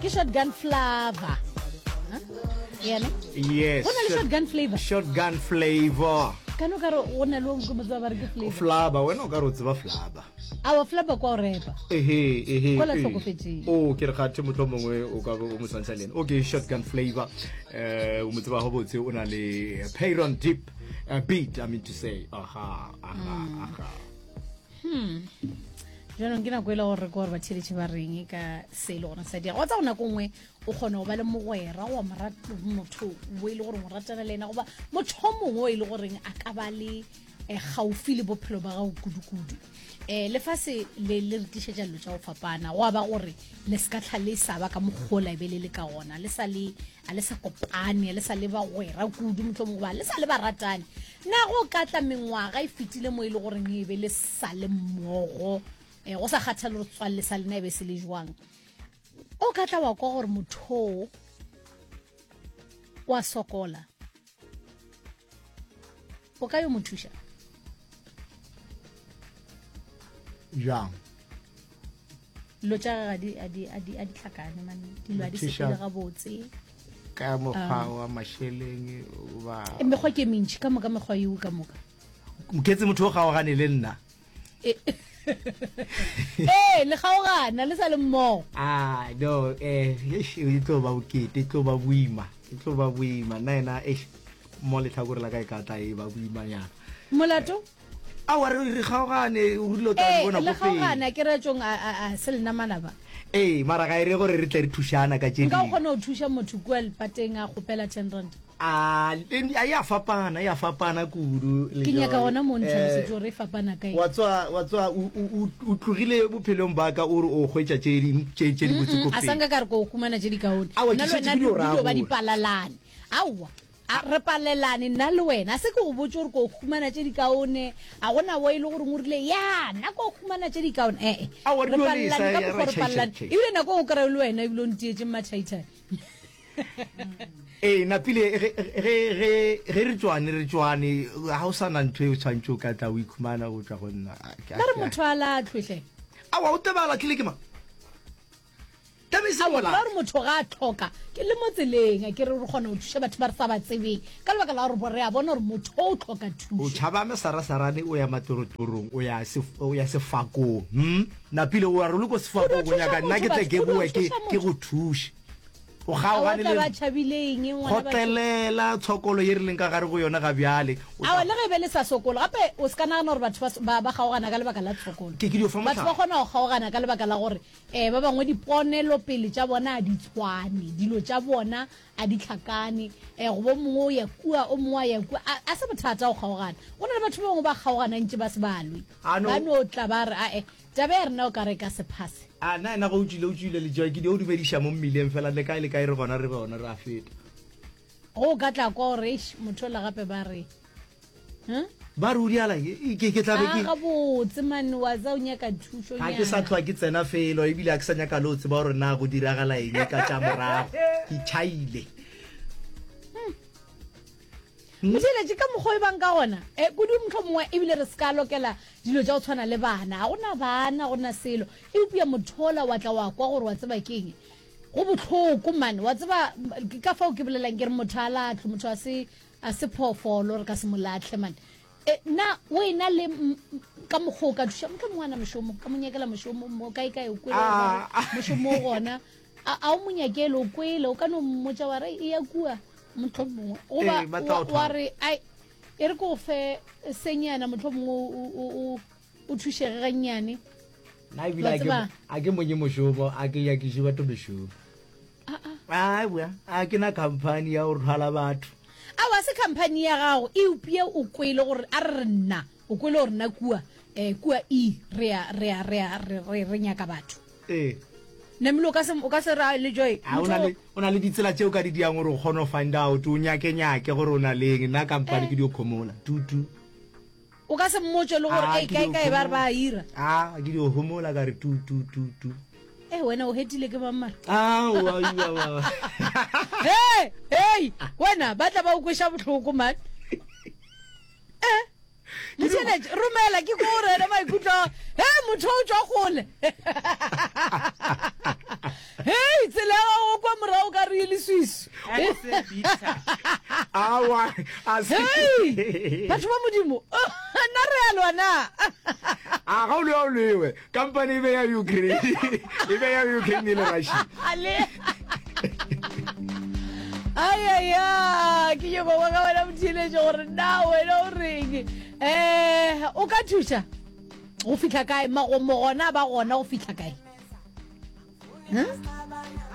Ke shotgun flavor. Huh? Yena? Yes. Go na le shotgun flavor. Shotgun flavor. Ka no ka re go na le o mongwe mo ba re ke flavor. Flava, wena o ka re o tseba flava. Awa flava kwa o repa. Ehe, ehe. Kwa la ee. hlokofetšeng. O ke re kgathe motlho mongwe o ka be o mo tshwantsha le ena. Okay, shotgun flavor. Eh, o mo tseba gabotse o na le Payron Deep uh, beat, I mean to say. Aha, aha, Hmm. aha. Jaanong ke nako e le gore re ke gore batheletše ba reng ka se e le gore sa dira. Wa tsa go nako nngwe o kgona go ba le mogwera goba motho o e le goreng o ratana le ena goba motho o mongwe o e le goreng a ka ba le eh, gaufi le bophelo ba gago kudu-kudu. Um lefase le le re tlišetša dilo tša go fapana go a ba gore le se ka tlha le sa ba ka mokgola e be le le ka gona le sa le a le sa kopane le sa le bagwera kudu mohlomongwe goba le sa le baratane na go ka tla mengwaga e fetile mo e le goreng e be le sa le mmogo um go sa kgathale gore tswalle sa lena e be se le jwang o ka tla wa kwa gore motho o a sokola o ka yo mo thuša Jang? Dilo tša gage a di, a di, a di hlakane man dilo a di sepele gabotse ka mokgwa ah. wa mašeleng ba e, mekgwa ke mentši ka moka mekgwa eo ka moka moketse motho o kgaogane le nna e, ee le kgaogana le sa le mmogo ah no eh e tlo ba bokete e tlo ba boima e tlo ba boima nna ena eish mo letlhakore la ka e ka tla e ba boimanyana molato Aowa, re, re kgaogane, o rile o tla Ee, bona le ko pele. kgaogana ke retšong a, a, a se lena manaba. Ee, mara ga e re gore re tle re thušana ka tše Nka dingwe. kgona go thuša motho kua lepateng a kgopela ten rand. A, e a ya fapana, e a fapana kudu. Ke nyaka Lejoe. gona mo o ntlhalosetše Eh, gore e fapana ka eng. wa tswa, wa tswa, o, o, o, o tlogile bophelong ba ka o re o hwetša tše di, tše, tše dibotse ko A pele. sa nka ka re ko humana tše dikaone. Aowa, Nna ke le šetše wena ke dio di raya dio ba gore. dipalalane. Aowa. A re palelane nna le wena. A se ke go botše gore ko humana tše dikaone. A gona wo e le goreng o rile, ya, nna ko humana tše dikaone. Ee, Aowa, re re dio palelane lesa, ka ya, mokgwa ra re palelane. tšhai, tšhai, tšhai. Ebile nako o kry-e le wena ebile o ntietše mmathaithai. Ee, napile ge, ge, ge, ge re tšwane, re tšwane, ga o sa na ntho e o tshwanetše o ka tla o ikhumana go tšwa go nna. A, ke, a, Ba re ke, a. motho a lahlwe hle. Aowa, o tebe a lahlile ke mang? Aowa, ke ra gore motho ga a tlhoka, ke le mo tseleng, a ke re re kgona go thuša batho ba re sa ba tsebeng, ka lebaka la gore re a bona gore motho o tlhoka O thušo. tšhaba mesarasarane, o ya matlorotlorong, o ya sef, o ya sefakong. Hm? Napile o a re o le ko O dio sefakong, o thuša nyaka nna motho, ke tle batho, ke o dio boe ke, thuša ke motho. go thuše. O Aowa, kgaogane tla le ba nna. tšhabile eng, ngwana batho? Kgotlelela tshokolo ye re leng ka gare go yona ga bjale. O Aowa, tla. le ge e be le sa sokole, gape o se ka nagana gore batho ba, ba, ba kgaogana ka lebaka la tshokolo. Ke, ke dio fa Batho ba mohlala. kgona go kgaogana ka lebaka la gore Ee, ba bangwe diponelopele tša bona a di tshwane, dilo tša bona a di hlakane. Ee, goba o mongwe o ya kua, o mongwe a ya kua. A, a se bothata go kgaogana. Go na le batho ba bangwe ba kgaogana ntše ba se ba lwe. A no. Ba no tla ba re, Ae, taba ya rena o ka re e ka se phase. A na yena ge o tšwile, o tšwile le Joy, ke dio dumediša mo mmileng fela, le kae le kae re gona, re gona, re a feta. Ge o ka tla kwa gore, Eish, motho ola gape ba re, Huh? Ba re o diala ke, ke, ke tla be A ke. gabotse man, wa tsa o nyaka thušo Ga ke sa nyana. hlwa ke tsena felo, ebile ga ke sa nyaka le go tseba gore na go diragala eng ka tša morago. Ke tšhaile. Motheeletši, ka mokgwa o e bang ka gona, e, kudu mohlomongwe ebile re se ka lokela dilo tša go tshwana le bana. Ga go na bana, go na selo. Eupša motho ola wa tla wa kwa gore wa tseba ke eng. Go bohloko man, wa tseba, ke ka fao ke bolelang ke re motho a lahlwe, motho a se, A se phoofolo, re ka se mo lahle man. E, na o ena le ka mokgwa o ka thuša mohlomongwe ngwana mošomo, ka mo nyakela mošomo mo kae kae o kwele gore ba re mošomo o gona. A, a o mo nyakele o kwele, o ka no mmotša wa re e ya kua mohlomongwe. Goba Ee, ba tla wa, o wa thwala. re ai e re ke o fe senyana mohlomongwe o, o, o, o thušege gannyane. Nna ebile Wa a ke, tseba? a ke monye mošomo, a ke nyakiše batho mešomo. Aowa, a ke na khamphani ya go rwala batho. Aowa, se khamphani ya gago, eupša o kwele gore, a re re nna, o kwele gore nna kua, eh, kua E, re a, re a, re a, re, re, re nyaka batho. Ee. Namile o ka se, o ka se ra le Joy. A o na le, o na le ditsela tše o ka di diang gore o kgone go find out, o nyake nyake gore o na leng. Nna khamphani ke dio khomola. Tu, tu. O ka se mmotše le gore, Ah, Ei, ke kae dio kae ba re ba homola. a ira. Ah, ke dio homola ka re tu, tu, tu, tu. Ei, wena o hetile ke mang mara? Aowa, aowa, aowa. Hei, hei, wena ba tla ba o kweša bohloko man. Eh, motheeletši, romela ke ko gore ena maikutlo a he motho o tšwa kgole. Hei, tsela ya gago. bitter. Awa, a se. Hei! Batho ba Modimo, na re a lwa na? A ga o lwe, a o lwewe. Kampane e be ya Ukraine. E be ya Ukraine le Russia. Ale. Ayaya, ke nyoko kwa ka wena motheeletši gore na wena o reng. Eh, o ka thuša go fihla kae? Magomo gona ba gona go fihla kae? Huh?